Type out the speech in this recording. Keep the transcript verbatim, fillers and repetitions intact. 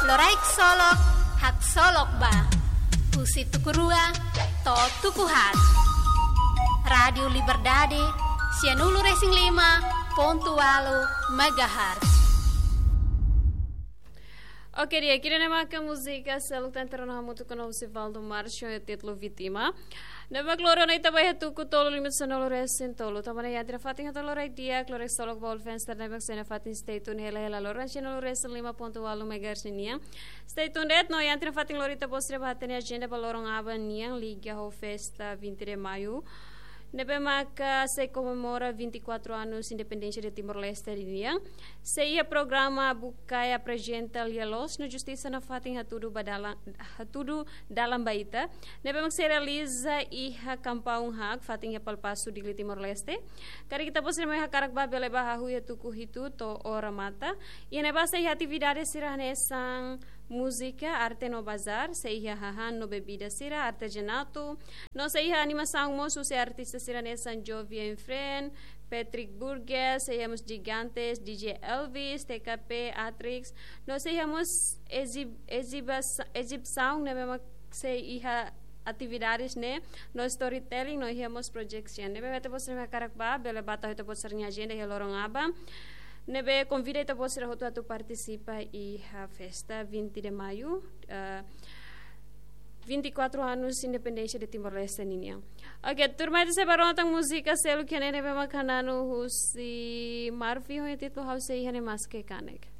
Loraik Solok, Haksolok Ba. Husi tuku rua to'o tuku haat. Rádiu Liberdade, sianulu-resin-lima pontu ualu megahertz. Oke, di'ak, ida-ne'e maka múzika seluk tan terus hamutuk ho Sivaldo Marcio, títulu Vítima. Ne'ebé mak loron ita ba iha tuku tolu limit sanulu-resin-tolu. Tanba ne'e iha tiha fatin hatudu loraik di'ak, Loraik Solok ba fans ne'ebé mak sei iha fatin, stay tune hela-hela loron sianulu-resin-lima pontu ualu megahertz nian. Stay tuned, no iha tiha fatin loron ita-boot sira bá hatene ajenda ba loron aban nian liga ho festa vinte de Maio. Ne'ebé maka sei komemora vinte e quatro anos independénsia de Timor-Leste nian. Sei iha programa Bukae aprezenta Lia Loos no Justisa nafatin hatudu ba dalan, hatudu dalan ba ita. Ne'ebé mak sei realiza iha Kampaun Haak, fatin iha Palapasu, Dili, Timor-Leste. Karik ita-boot sira mak hakarak bá bele bá hahú iha tuku hitu to'o remata. Iha ne'ebá sei iha atividade sira hanesan múzika, arte no bazar, sei iha hahán no bebida sira, artezanatu, no sei iha animasaun mós husi artista sira hanesan Jovi and Friend, Patrick Burgess, sei iha mós Gigantes, D J Elvis, T K P, Atrix, no sei iha mós ezib-, ezibas-, ezibisaun ne'ebé mak sei iha atividades ne'e, no storytelling, no iha mós projection. Ne'ebé ita-boot sira mak hakarak bá, bele bá tau ita-boot sira-nia ajenda iha loron aban. Ne'ebé konvida ita-boot sira hotu atu partisipa iha festa vinte de Maio, eh, vinte e quatro anos independénsia de Timor-Leste nian. Oke, turma, ita sei bá rona tan múzika seluk iha ne'e, ne'ebé mak hananu husi Marvin ho títulu Ha'u Sei Iha Ne'e Maske Kanek.